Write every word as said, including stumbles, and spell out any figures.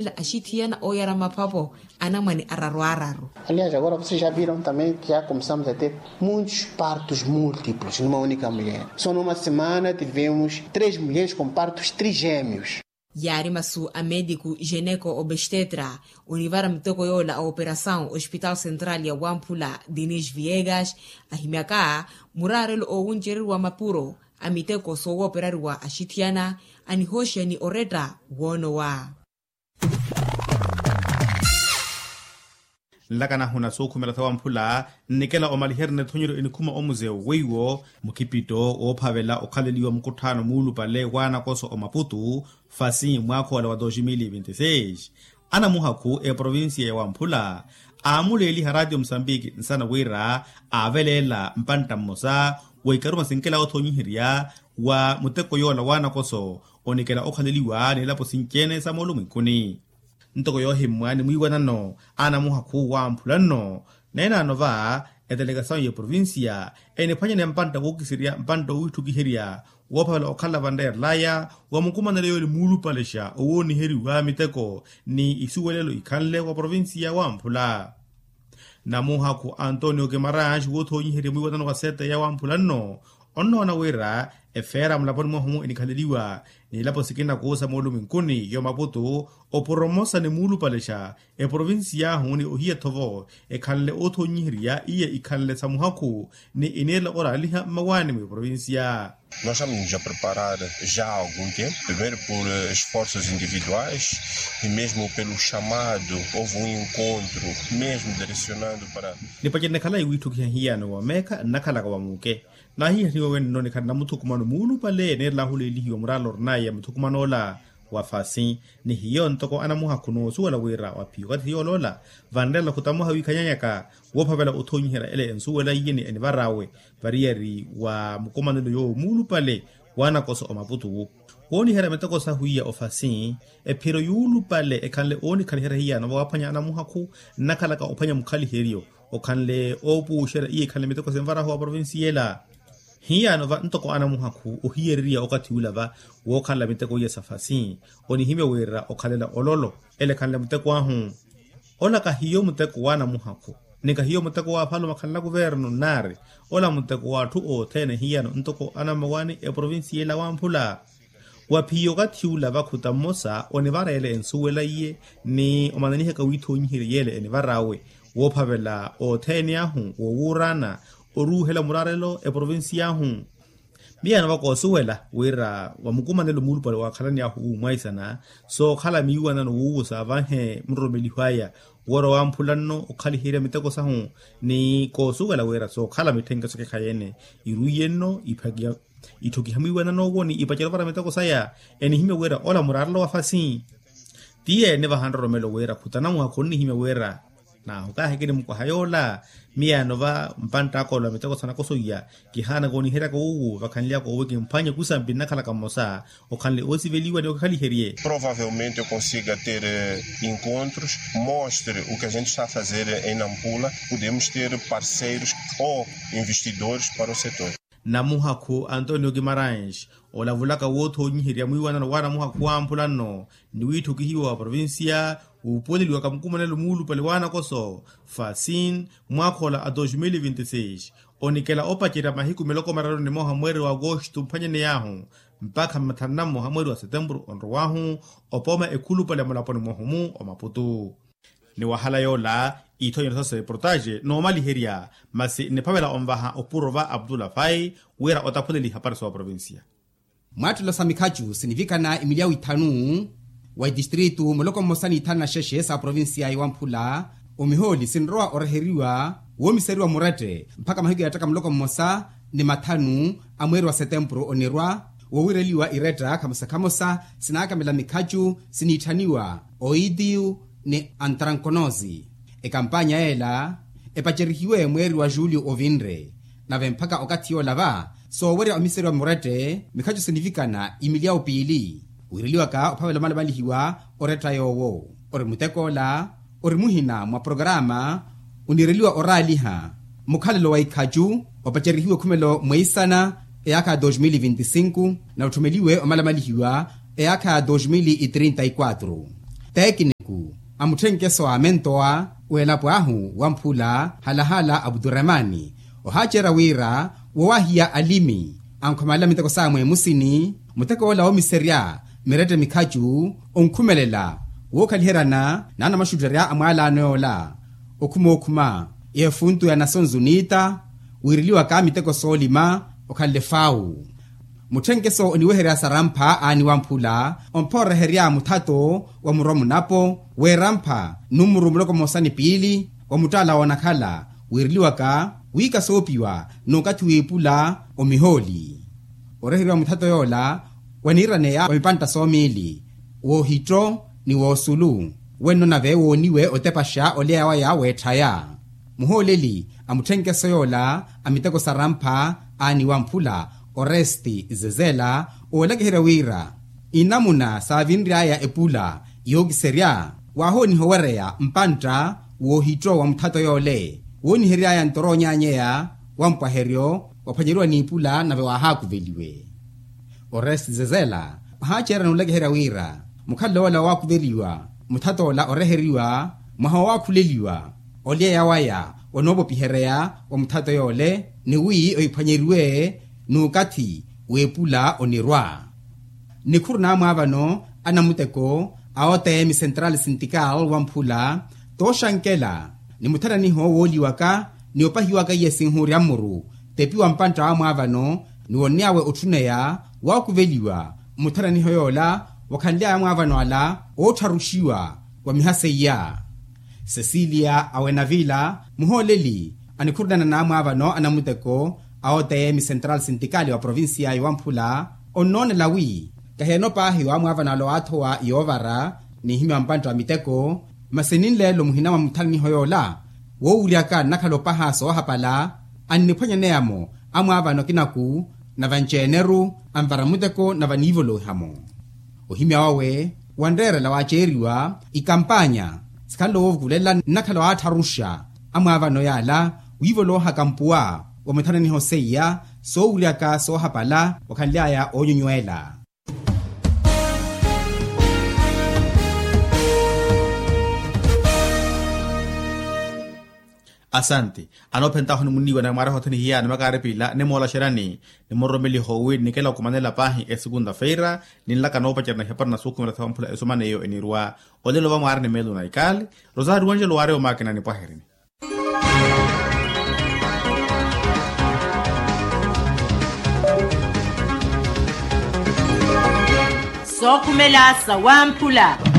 Axithiyana ooyara maphapo anamwane araru araru. Aliás agora vocês já viram também que já começamos a ter muitos partos múltiplos numa única mulher, só numa semana tivemos três mulheres com partos trigêmeos. Yaari masu a médico geneco obstetra onivara miteko yoola a operasaw ospital central ya wamphula denis viegas ahimyaka muraarelo oowuncereriwa mapuro a miteko soowooperariwa axithiyana anihooxeya ni oretta woonowa. Nlakanahu na sookhumela sawamphula nnikela omaliherya na ethonyeryo enikhuma omuzeu weiwo mukipitto woophavela okhaleliwa mukutthaano muulupale waanakoso omaputu fasi mwaakha ola wa dos mil vinti seis. Anamuhakhu eprovincia ya wamphula aamuleeliha ratio musambiki nsana wira aaveleela mpantta mmosa wa ikaruma sinkela othonyiherya wa muteko yoola waanakoso onikela okhaleliwa n'elapo sinci-ene sa moolu mwinkuni. Ntoko yoohimmwa ni mwiiwanano anamuhakhu wamphula nno neenaano va etelekasawu ya provincia eniphwanyaneya mpantta wookiserya mpantta owitthukiherya woophavela okhala vanreerelaya wa mukumanelo yoole muulupalexa owooniheriwa miteko ni isuwelelo ikhanle wa provincia wamphula. Namuhakhu antonio kimarange woothonyiherya mwiiwanano wa sete ya wamphula nno onnoona wira efeera mulaponi mwahu enikhaleliwa n'elapo sikina kuusa moolumwinkuni yo maputu opuro mmosa ni muulupalexa eprovincia ahu ni ohiya-tho-vo ekhanle oothonyiherya iye ikhanle sa muhakhu ni iniirela oraaliha mmawaani mweprovincia. Nós estamos a preparar já há algum tempo primeiro por esforços individuais e mesmo pelo chamado houve um encontro mesmo direcionando para. Nipacerene khalayi wiitthukiha hiyano wa meekha nnakhalaka wa muuke naahihaniwa wenno nikhala namuthukumano muulupale neerela ahuleelihiwa muraala orinaya muthukumano ola wa fasi ni hiyo ntoko anamuhakhu noosuwela wira wa phiyo okathi yooloola vanreela khutamuha wiikhanyanyaka woophavela othonyiherya ele ensuwela iye ni enivar'awe variyari wa mukumanelo yoowo muulupale waanakoso omaputu wooniherya miteko sahu iya ofasi ephiro yuulupale ekhanle oonikhaliheriha hiyano vawaaphwanya anamuhakhu nnakhalaka ophwanya mukhaliheryo okhanle oopuuxerya iye ekhanle miteko sinvarahu wa provincia ela. Hiyano va ntoko anamuhakhu ohiyereriya okathi ula va wookhanla miteko iya sa fasi onihimya wira okhalela ololo ele ekhanle muteko ahu. Ola kahiyo muteko w'anamuhakhu ni kahiyo muteko w'afalume akhanle akuvernu nnaari ola muteko w'atthu othene hiyano ntoko anammawaani eprovincia ela wamphula. Wa phiyo okathi ula vakhuta mmosa onivareela ensuwela iye ni omananihaka wiithonyiherya yeele enivar'awe woophavela othene ahu woowuuraana oruuhela muraarelo eprovincia ahu. Miyano va koosuwela wira wa mukumanelo muulupale waakhalani ahu wuumwaisana sookhala miiwanano wuuwo saavanhe muroromeliho aya woora wamphula nno okhaliherya miteko sahu ni koosuwela wira sookhala mitthenke sokekhayi-ene iruiye nno iphakiya itthukiha mwiiwanano owo ni ipacerya ovara miteko saya. Enihimya wira ola muraarelo wa fasi tiye enivaha nroromelo wira khutanamuha khonnihimya wira naahu kaahikini mukwaha yoola. Miyano va mpantt'aka ola miteko sanakoso iya kihaanaka oniheryaka wuuwu vakhanly'aka owo kimphwanye kusampi nnakhalaka mmosa okhanle oosiveliwa ni okikhaliherye. Provavelmente eu consiga ter encontros mostre o que a gente está a fazer em nampula podemos ter parceiros ou investidores para o setor. Namuhakhu antonio kimarange olavulaka woothonyiherya mwiiwanano wa namuhakhu wamphula nno ni wiitthukihiwa wa provincia wuupuweleliwaka mukumanelo muulupale wa nakoso fasin mwaakha ola a dos mil vinti seis onikela opacerya mahiku miloko mararu ni moha mweeri wa agosto mphwanyaney'ahu mpakha mathanu na mmoha mweeri wa setempuru onrow'ahu opooma ekhulupale mulaponi mwahu-mu omaputu. Ni wahala yoola ithonyeryo sa sereportaxe noomaliherya masi nniphavela onvaha opuro va abdullah fai wira otaphuleliha parisi wa provincia. Mwaattelo sa mikhacu sinivikana imilyawu ithanu wa itistritu muloko mmosa n'ithanu na xexe sa provincia ya wamphula omihooli sinrowa oreheriwa woomiseriwa murette mpakha mahiku yaattaka muloko mmosa ni mathanu a mweeri wa setempuru onirwa woowireliwa iretta khamosa khamosa sinaakamela mikhacu siniitthaniwa oitiyu ni antrankonosi. Ekampanya yeela epacerihiwe mweeri wa julio ovinre nave mpakha okathi yoola va soowerya omiseriwa murette mikhacu sinivikana imilyawu piili wiireliwaka ophavela omalamalihiwa oretta yoowo. Ori mutek'ola ori muhina mwa programa oniireliwa oraaliha mukhalelo wa ikhacu opacerihiwe khumelo mweisana eyaakha ya dos mil vinti sinku na otthumeliwe omalamalihiwa eyaakha ya dos mil trinta y quatro. Teekiniku a mutthenkeso a mentowa w'elapo ahu wamphula halahala aputuremani ohaacerya wira wowahiya alimi ankhomala miteko sawe mwemusini. Muteko ola oomiserya mirette mikhacu onkhumelela wookhaliheryana n'anamaxutterya a mwaalaano yoola okhuma okhuma efuntu ya nasonzu niita wiireliwaka miteko soolima okhanle faawu. Mutthenkeso oniweherya sarampha aani wamphula ompha oreherya muthato wa murwa munapo weerampha numuru muloko mmosa ni piili wa muttaala woonakhala wiireliwaka wiika soopiwa n'ukathi w'ippula omihooli. Oreheriwa muthato yoola waniiraneya wa mipantta soomiili w'ohitto ni w'osulu wenno nave wooniwe otepaxa olyeya waya w'etthaya. Muhooleli a mutthenkeso yoola a miteko sarampha aani wamphula oresti zezela oolakiherya wira inamuna saavinry'aya epula yookiserya waahooniha owereya mpantta w'ohitto wa muthato yoole woonihery'aya ntoro onyaanyeya wa mpwaheryo waphwanyeriwa n'ipula nave waahaakuveliwe. Oresti zezela ohaaceerya n'ulakiherya wira mukhalelo woola waakuveliwa muthato ola oreheriwa mwaha woowakhuleliwa olyeya waya onoopopihereya wa muthato yoole ni wi ohiphwanyeriwe n'ukathi w'epula onirwa. Nikhuru n'amwaavano a namuteko a otm central sintikal wamphula tooxankela ni muthananiho wooliwaka ni opahiwaka iye sinhuurya mmuru tepiwa mpantta w'amwaavano ni wonniy'awe otthuneya waakuveliwa mmuthananiho yoola wakhanly'aya amwaavano ala oottharuxiwa wa miha seiya. Cecilia awenavila muhooleli anikhurunana n'amwaavano a namuteko a otm central sintikali wa provincia ya wamphula onnoonela wi kahi eno paahi w'amwaavano ala owaathowa yoovara n'ihimya wa mpantta wa miteko masi ninleelo muhina mwa muthananiho yoola woowuryaka nnakhala opaha soohapala anniphwanyaneya-mo amwaavano akinaku na vanci-eneru anvara muteko na vaniivolowiha-mo. Ohimya wawe wanreerela waaceeriwa ikampanya sikhanle woovukulela nnakhala waattharuxa amwaavano yaala wiivolohaka mpuwa wa muthananiho seiya soowuryaka soohapala wakhanly'aya oonyonywela. Asanti. Anoophentahu nimuniiwa na mwaaraha othene hiyana makaaripila nimoolaxerani nimuroromeliho wi nikela okumanela paahi esukunta feira ninlaka noopacerya na ihapari na sukhumela thawa mphula esumaneiyo enirwa. Olelo vamwaari ni meelo na ikali rosario angelo waari omaakina nipwaherini. Sookhumela sawamphula.